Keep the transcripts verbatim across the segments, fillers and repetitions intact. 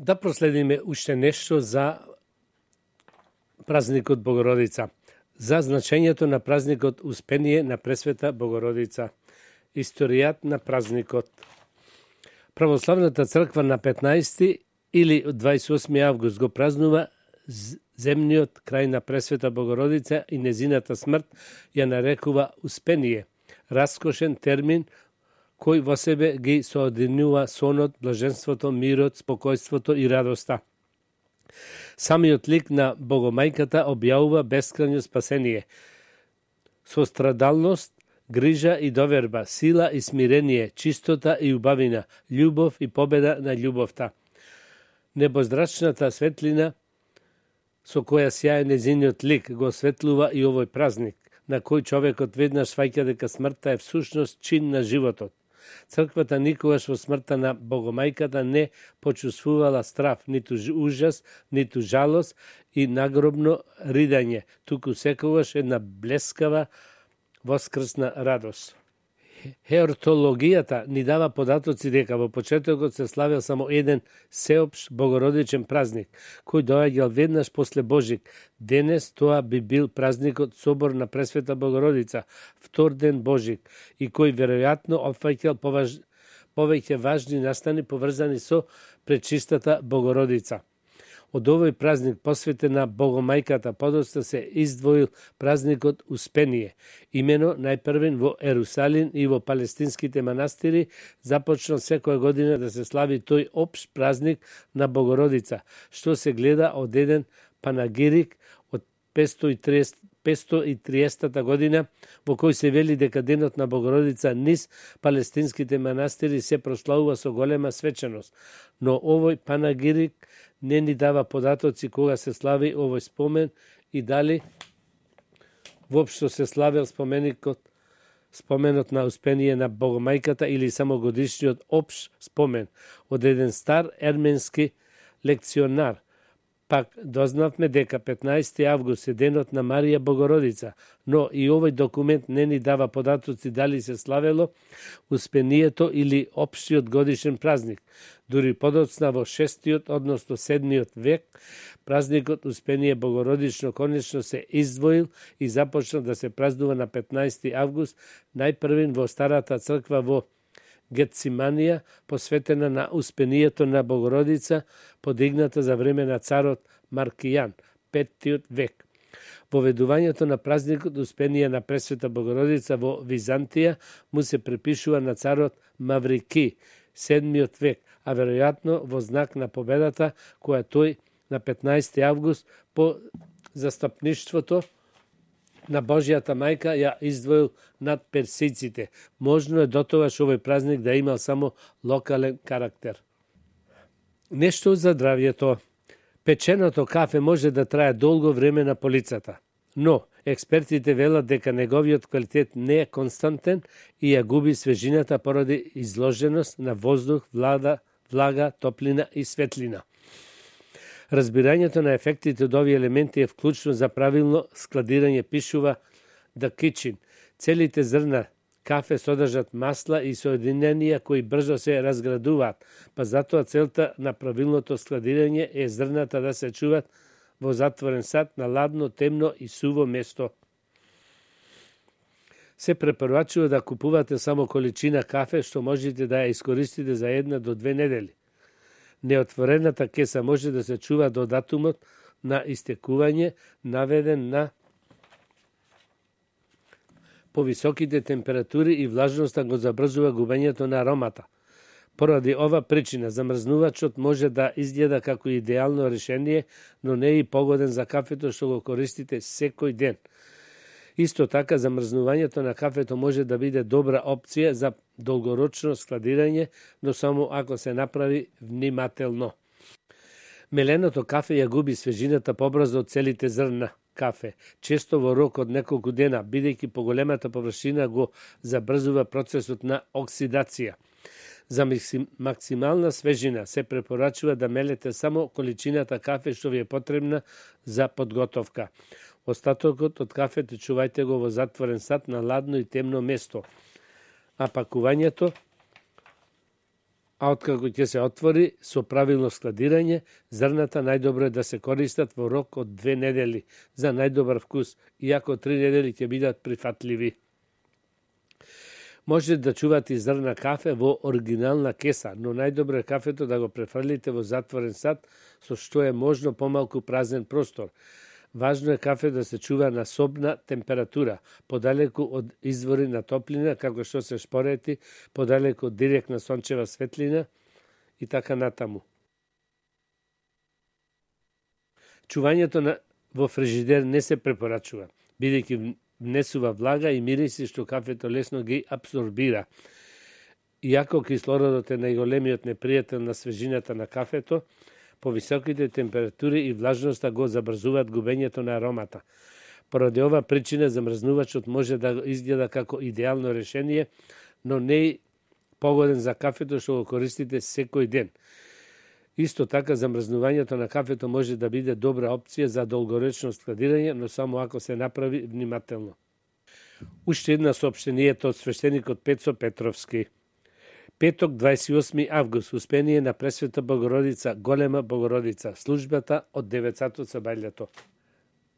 Да проследиме уште нешто за празникот Богородица, за значењето на празникот Успение на Пресвета Богородица, историјат на празникот. Православната црква на петнаести или дваесет и осми август го празнува земниот крај на Пресвета Богородица и незината смрт ја нарекува Успение, раскошен термин кој во себе ги соединува сонот, блаженството, мирот, спокојството и радоста. Самиот лик на Богомајката објавува бескрајно спасение, сострадалност, грижа и доверба, сила и смирение, чистота и убавина, љубов и победа на љубовта. Небоздрачната светлина со која сјае незиниот лик го осветлува и овој празник, на кој човекот веднаш сваќа дека смртта е всушност чин на животот. Црквата никогаш во смртта на Богомајката не почувствувала страф, ниту ужас, ниту жалост и нагробно ридање, туку секогаш една блескава воскрсна радост. Хеортологијата ни дава податоци дека во почетокот се славел само еден сеопшт богородичен празник, кој доаѓал веднаш после Божик. Денес тоа би бил празникот Собор на Пресвета Богородица, втор ден Божик, и кој веројатно опфаќал поваж... повеќе важни настани поврзани со пречистата Богородица. Од овој празник посветен на Богомајката подоцна се издвоил празникот Успение. Имено најпрвен во Ерусалим и во палестинските манастири започнал секоја година да се слави тој општ празник на Богородица, што се гледа од еден панагирик од петстотини и триесета година, во кој се вели дека денот на Богородица низ палестинските манастири се прославува со голема свеченост. Но овој панагирик не ни дава податоци кога се слави овој спомен и дали воопшто се славел споменикот, споменот на Успение на Богомајката или само годишниот општ спомен од еден стар ерменски лекционар. Пак дознавме дека петнаести август е денот на Марија Богородица, но и овој документ не ни дава податоци дали се славело Успението или општиот годишен празник. Дури подоцна во шестиот, односно седмиот век, празникот Успение Богородично конечно се издвоил и започна да се празнува на петнаести август, најпрвен во старата црква во Гетсиманија, посветена на Успението на Богородица, подигната за време на царот Маркијан, петтиот век. Воведувањето на празникот Успение на Пресвета Богородица во Византија му се припишува на царот Маврики, седмиот век, а веројатно во знак на победата која тој на петнаести август по застапништвото на Божјата мајка ја издвоил над персиците. Можно е дотогаш овој празник да имал само локален карактер. Нешто за здравјето. Печеното кафе може да трае долго време на полицата, но експертите велат дека неговиот квалитет не е константен и ја губи свежината поради изложеност на воздух, влада, влага, топлина и светлина. Разбирањето на ефектите од овие елементи е вклучно за правилно складирање, пишува The Kitchen. Целите зрна кафе содржат масла и соединенија кои брзо се разградуваат, па затоа целта на правилното складирање е зрната да се чуваат во затворен сад на ладно, темно и суво место. Се препорачува да купувате само количина кафе што можете да ја искористите за една до две недели. Неотворената кеса може да се чува до датумот на истекување, наведен на повисоките температури и влажноста го забрзува губењето на аромата. Поради ова причина, замрзнувачот може да изгледа како идеално решение, но не е и погоден за кафето што го користите секој ден. Исто така, замрзнувањето на кафето може да биде добра опција за долгорочно складирање, но само ако се направи внимателно. Меленото кафе ја губи свежината побрзо од целите зрна кафе, често во рок од неколку дена, бидејќи поголемата површина го забрзува процесот на оксидација. За максимална свежина се препорачува да мелете само количината кафе што ви е потребна за подготовка. Остатокот од кафето чувајте го во затворен сад на ладно и темно место. А пакувањето а откако ќе се отвори со правилно складирање, зрната најдобро е да се користат во рок од две недели за најдобар вкус, иако три недели ќе бидат прифатливи. Може да чувате зрна кафе во оригинална кеса, но најдобро е кафето да го префрлите во затворен сад, со што е можно помалку празен простор. Важно е кафе да се чува на собна температура, подалеку од извори на топлина, како што се шпорети, подалеку од директна сончева светлина и така натаму. Чувањето на, во фрижидер не се препорачува, бидејќи внесува влага и мириси што кафето лесно ги абсорбира. Иако кислородот е најголемиот непријател на свежината на кафето, повисоките температури и влажноста го забрзуваат губењето на аромата. Поради ова причина замрзнувачот може да изгледа како идеално решение, но не е погоден за кафето што го користите секој ден. Исто така, замрзнувањето на кафето може да биде добра опција за долгоречно складирање, но само ако се направи внимателно. Уште една соопштението од свештеникот Пецо Петровски. Петок, дваесет и осми август, успение на Пресвета Богородица, Голема Богородица, службата од девет сати со бајлето.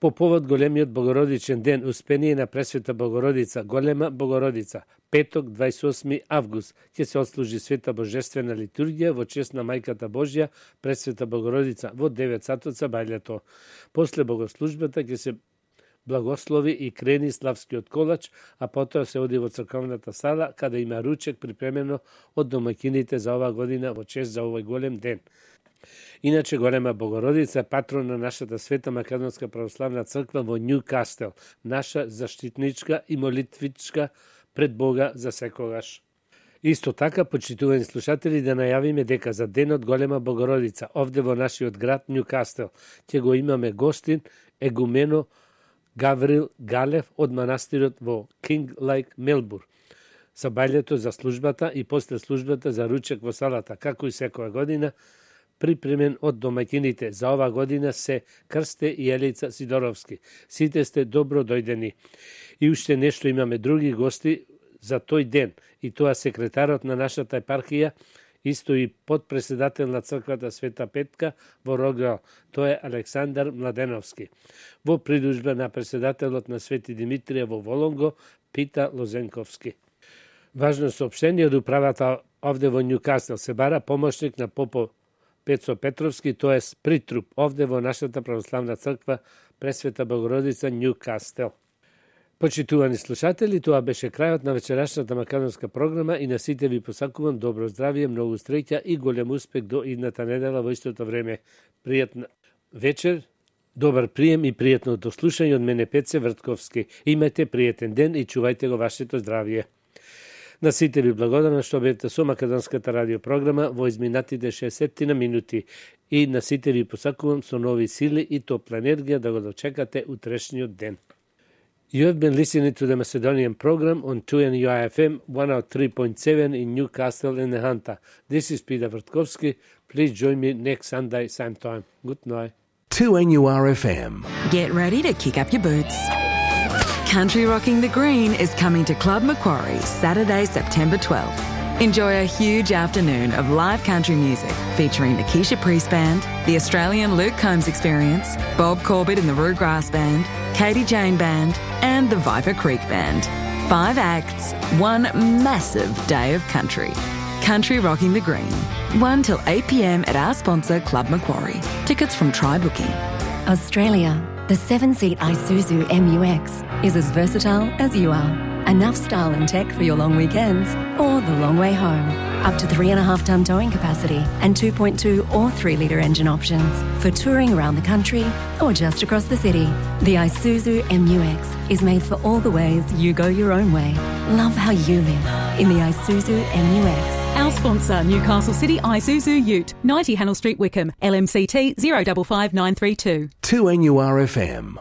По повод големиот Богородичен ден, успение на Пресвета Богородица, Голема Богородица, петок, дваесет и осми август, ќе се отслужи света божествена литургија во чест на Мајката Божја, Пресвета Богородица, во девет сати со бајлето. После богослужбата ќе се благослови и крени славскиот колач, а потоа се оди во црковната сала, каде има ручек припремено од домаќините за ова година во чест за овој голем ден. Иначе Голема Богородица е патрон на нашата света Македонска православна црква во Њукастел, наша заштитничка и молитвичка пред Бога за секогаш. Исто така, почитувани слушатели, да најавиме дека за денот Голема Богородица, овде во нашиот град Њукастел, ќе го имаме гостин егумено Гаврил Галев од манастирот во Кинг Лейк, Мелбур. За бајлето за службата и после службата за ручек во салата, како и секоја година, припремен од домаќините. За ова година се Крсте и Елица Сидоровски. Сите сте добро дојдени. И уште нешто, имаме други гости за тој ден, и тоа секретарот на нашата епархија, исто и подпредседател на црквата Света Петка во Рогал, тоа е Александар Младеновски. Во придружба на председателот на Свети Димитрија во Волонго, Пита Лозенковски. Важно соопштение од управата овде во Њукастел, се бара помошник на попо Пецо Петровски, тоа е притруп овде во нашата православна црква Пресвета Богородица Њукастел. Почитувани слушатели, тоа беше крајот на вечерашната македонска програма и на сите ви посакувам добро здравје, многу среќа и голем успех до идната недела во истото време. Пријатна вечер, добар прием и пријатно дослушање од мене Пеце Вртковски. Имајте пријатен ден и чувајте го вашето здравје. На сите ви благодарам што бевте со македонската радиопрограма во изминатите шесет на минути и на сите ви посакувам со нови сили и топла енергија да го дочекате утрешниот ден. You have been listening to the Macedonian program on two N U I F M one oh three point seven in Newcastle in the Hunter. This is Peter Vrtkovski. Please join me next Sunday, same time. Good night. two N U R F M. Get ready to kick up your boots. Country Rocking the Green is coming to Club Macquarie Saturday, September twelfth. Enjoy a huge afternoon of live country music featuring the Keisha Priest Band, the Australian Luke Combs Experience, Bob Corbett and the Rue Grass Band, Katie Jane Band, and the Viper Creek Band. Five acts, one massive day of country. Country Rocking the Green. one till eight p m at our sponsor Club Macquarie. Tickets from Try Booking. Australia, the seven-seat Isuzu M U X is as versatile as you are. Enough style and tech for your long weekends or the long way home. Up to three and a half tonne towing capacity and two point two or three litre engine options for touring around the country or just across the city. The Isuzu M U X is made for all the ways you go your own way. Love how you live in the Isuzu M U X. Our sponsor, Newcastle City Isuzu Ute, ninety Hannell Street, Wickham, L M C T zero five five nine three two. two N U R F M.